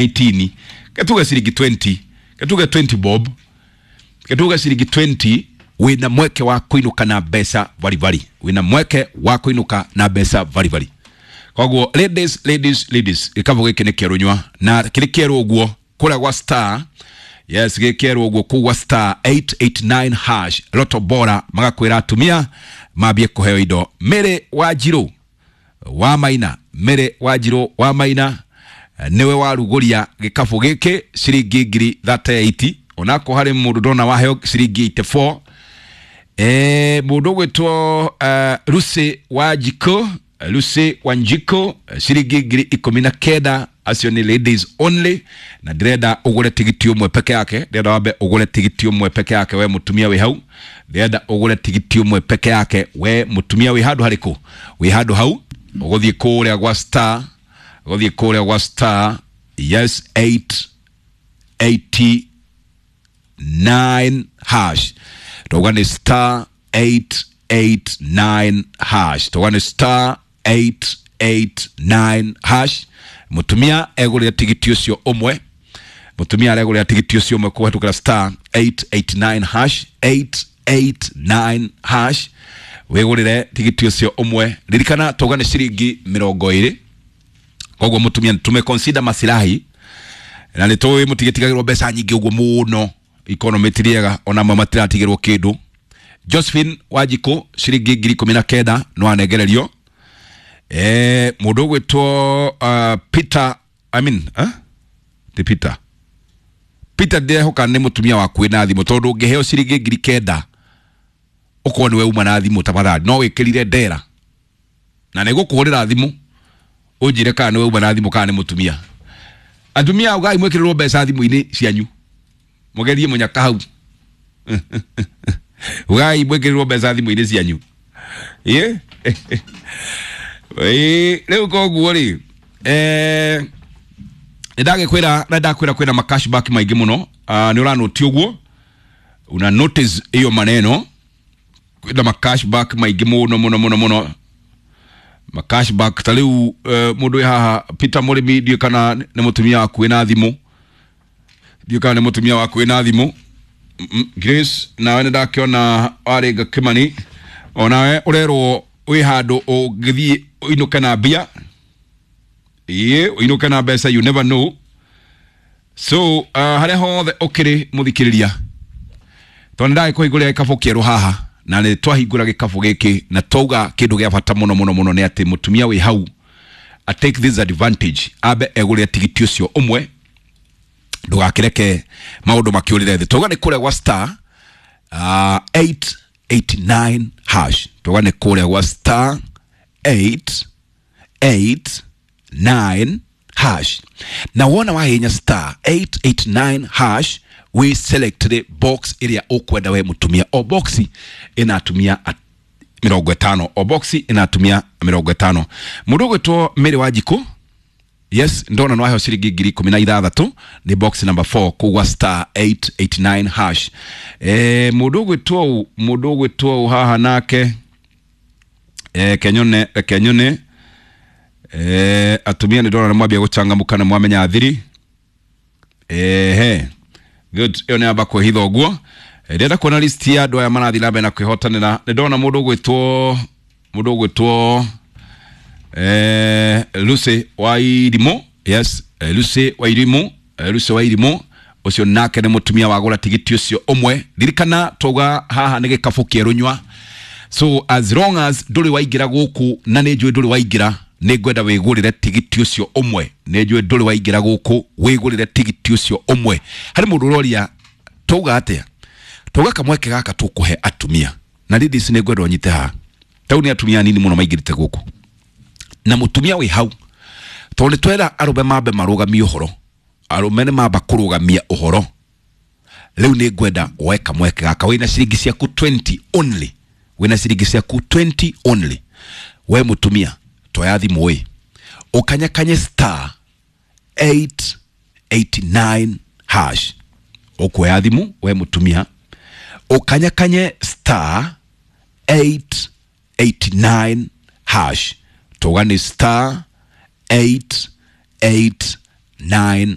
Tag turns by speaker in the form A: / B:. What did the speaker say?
A: 18 ketuge ciringi 20, ketuge 20 bob, ketuge ciringi 20, wina mweke wa kuinuka na mbeca varibari, wina mweke wa kuinuka na mbeca varibari. Koguo ladies, ladies, ladies, gĩkabũ gĩkĩ nĩ kĩerũ nyua na kĩrĩ kĩerũ ũguo kũrĩa gwa star, yes, gĩkĩerũ ũguo kũu gwa star 889 hash Loto Bora magakwĩra atumia mambie kũheo indo. Mary Wanjirũ wa Maina, Mary Wanjirũ wa Maina niwe warugũria gĩkabũ gĩkĩ ciringi ngiri 38, onako harĩ mũndũ ndona waheo ciringi 84. Mũndũ ũgwĩtwo Lucy Wanjikũ, Lucy Wanjikũ ciringi 19,000, acio nĩ ladies only, na ndĩrenda ũgũre tigiti ũmwe peke yake, ndĩrenda wambe ũgũre tigiti ũmwe peke yake we mũtumia wĩ hau, ndĩrenda ũgũre tigiti ũmwe peke yake we mũtumia wĩ handũ harĩkũ, wĩ handũ hau ũgũthiĩ kũrĩa gwa star, ũgũthiĩ kũrĩa gwa star, yes, 889 hash, tauga nĩ star 889 hash, tauga nĩ star 889 hash. Mutumia egũrĩre tigiti ũcio ũmwe, mutumia aregũrĩra tigiti ũcio ũmwe kũhetũkĩra star 889 hash, 889 hash, wĩgũrĩre tigiti ũcio ũmwe. Ririkana tauga nĩ ciringi 20, koguo mutumia tume consider masilahi na nĩ tũĩ mũtigĩtigagĩrwo mbeca nyingĩ ũguo mũno, economy ti rĩega, ona amwe matiratigĩrwo kĩndũ. Josephine Wanjikũ ciringi 19,000 no anengererio. Mũndũ ũgwĩtwo Peter, I mean, ti Peter, Peter ndirehoka nĩ mũtumia waku wĩna thimũ, tondũ ũngĩheo ciringi 9,000 ũkorwo nĩwe uma na thimũ, tafadhali no wĩkĩrire ndera na nĩ gũkũhũrĩra thimũ ũnjĩre kana nĩwe uma na thimũ kana nĩ mũtumia. Atumia ugai mwĩkĩrĩrwo mbeca thimũ-inĩ cianyu, mũgerie mũnyaka hau, ugai mwĩkĩrĩrwo mbeca thimũ-inĩ cianyu. Ĩ rĩu koguo rĩ, nĩ ndagĩkwĩra na ndakwĩra kwĩna ma cashback maingĩ mũno. Nĩ ũranoti ũguo una notice iyo maneno, kwĩna ma cashback maingĩ mũno mũno mũno mũno, ma cashback ta rĩu mũndũ wĩ haha Peter Mũrĩmi, ndiũĩ kana nĩ mũtumia waku wĩna thimũ, ndiũĩ kana nĩ mũtumia waku wĩna thimũ. Grace nawe nĩ ndakĩona warĩnga Kĩmani, onawe ũrerwo wĩ handũ ũngĩthiĩ ũinũke na mbia, ĩĩ ũinũke na mbeca, you never know. So harĩa hothe ũkĩrĩ mũthikĩrĩria, tondũ nĩ ndagĩkũhingũrĩra gĩkabũ kĩerũ haha, na nĩ twahingũra gĩkabũ gĩkĩ na twauga kĩndũ gĩa bata mũno mũno mũno nĩ atĩ mũtumia wĩ hau a take this advantage, ambe egũrĩre tigiti ũcio ũmwe, ndũgakĩreke maũndũ makĩũrĩre thĩ. Twauga nĩ kũrĩa gwa star 889 hash, twauga nĩ kũrĩa gwa star 889 hash, na wona wahinya star 889 hash we select box ĩrĩa ũkwenda we mũtumia, o box ĩna atumia 50, o box ĩna atumia 50. Mũndũ ũgwĩtwo Mary Wanjikũ, yes, ndona no aheo ciringi 16,000 nĩ box number 4 kũu gwa star 889 hash. Mũndũ ũgwĩtwo, mũndũ ũgwĩtwo haha nake kenyone, kenyone atumia nĩ ndona nĩ mwambia gũcangamũka na mwamenya thiri. Ehe, good, ĩyo nĩ amba kwĩhitha ũguo. Ndĩrenda kuona list ya andũ aya marathiĩ na mbere na kwĩhotanĩra. Nĩ ndona mũndũ ũgwĩtwo, mũndũ ũgwĩtwo Lucy Wairimu, yes, Lucy Wairimu, Lucy Wairimu ũcio nake nĩ mũtumia wagũra tigiti ũcio ũmwe. Ririkana twauga haha nĩ gĩkabũ kĩerũ nyua, so as long as ndũrĩ waingĩra gũkũ, na nĩ njũĩ ndũrĩ waingĩra, nĩ ngwenda wĩgũrĩre tigiti ũcio ũmwe. Nĩ njũĩ ndũrĩ waingĩra gũkũ, wĩgũrĩre tigiti ũcio ũmwe. Harĩ mũndũ ũroria twauga atĩa, twauga kamweke gaka tũkũhe atumia, na ladies nĩ ngwenda ũnyite haha, tau nĩ atumia anini mũno maingĩrĩte gũkũ, na mũtumia wĩ hau, tondũ nĩ twera arũme mambe marũgamie ũhoro, arũme nĩ mamba kũrũgamia ũhoro. Rĩu nĩ ngwenda woe kamweke gaka, wĩna ciringi ciaku 20 only, wĩna ciringi ciaku 20 only, we mũtumia toya thimũ ĩ ũkanyakanye star 889 hash, ũkuoya thimũ we mũtumia ũkanyakanye star 889 hash, tuga nĩ star 889